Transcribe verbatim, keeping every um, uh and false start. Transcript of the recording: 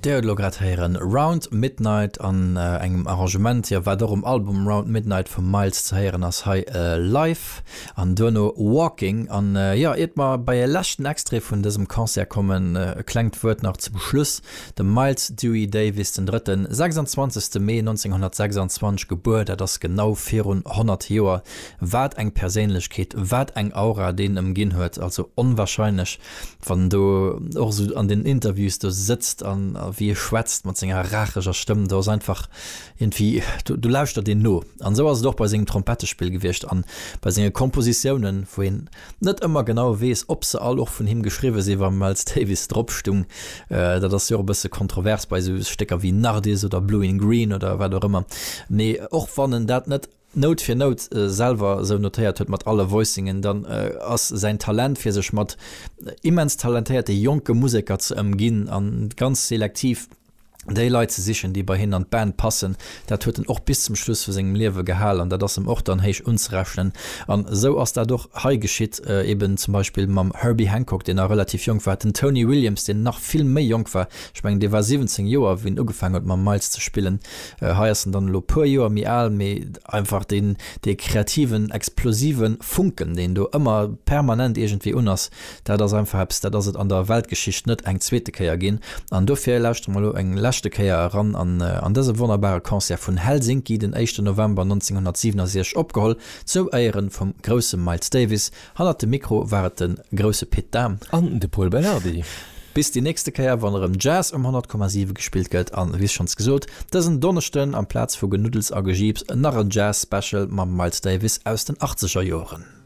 Dir hutt elo grad héieren Round Midnight an engem Arrangement, jo, wat och um Album Round Midnight vum Miles ze héieren ass, hei live an duerno Walking. An jo, iert mer bei e leschten Extrait vun dësem Concert kommen, e klengt Wuert nach zum Schluss. De Miles Dewey Davis den Drëtten, sechsundzwanzegste Mee nonzénghonnertsechsundzwanzeg gebuer, dat ass genau virun honnert Joer. Wat eng Perséinlechkeet, wat eng Aura deen ëmginn huet, also onwahrscheinlech. Wann en do och esou an den Interviews do sëtzt an wéi e schwätzt mat senger raacheger Stëmm, do ass einfach iergendwéi, do do lauschtert een no. An esou ass et och bei sengem Trompettespill gewiescht an bei senge Kompositiounen, wou een net ëmmer genau weess, ob se all och vun him geschriwwe sinn, wa Miles Davis drop stung. Dat ass jo och e bësse kontrovers bei esou Stécker wéi Nardis oder Blue in Green oder wat och ëmmer. Mee och wann en dat net Nout fir Nout selwer esou notéiert huet mat alle Voicingen, dann ass säin Talent fir sech mat immens talentéierte jonke Museker ze ëmginn an ganz selektiv déi Leit ze sichen, déi bei hien an d'Band passen, dat huet en och bis zum Schluss vu sengem Liewe gehal an dat ass em och dann héich unzerechnen. An esou ass dat och hei geschitt, eben zum Beispill mam Herbie Hancock, deen nach relativ jonk war, den Tony Williams, deen nach vill méi jonk war, ech mengen dee war siwwenzéng Joer wéi en ugefaangen huet mam Miles ze spillen. Hei ass en dann elo puer Joer méi al, mee einfach deen, dee kreativen, explosive Funken, deen do ëmmer permanent iergendwéi un ass, dat ass einfach eppes, dat ass et an der Weltgeschicht net eng zweete Kéier ginn. An dofir lauschtere mer elo eng leschte Kéier eran an an dëse wonnerbare Concert vun Helsinki, den éischten November nonzénghonnertsiwenundsechzeg opgeholl, zou Éieren vum grousse Miles Davis. Hannert dem Mikro war et de grousse Pit Dahm. An de Pol Belardi. Bis déi nächste Kéier, wann erëm Jazz um honnert Komma siwe gespillt gëtt. An wéi schonns gesot, dësen Donneschden amplaz vu Genuddels a Gejiips nach en Jazz-Special mam Miles Davis aus den achtzeger Joren.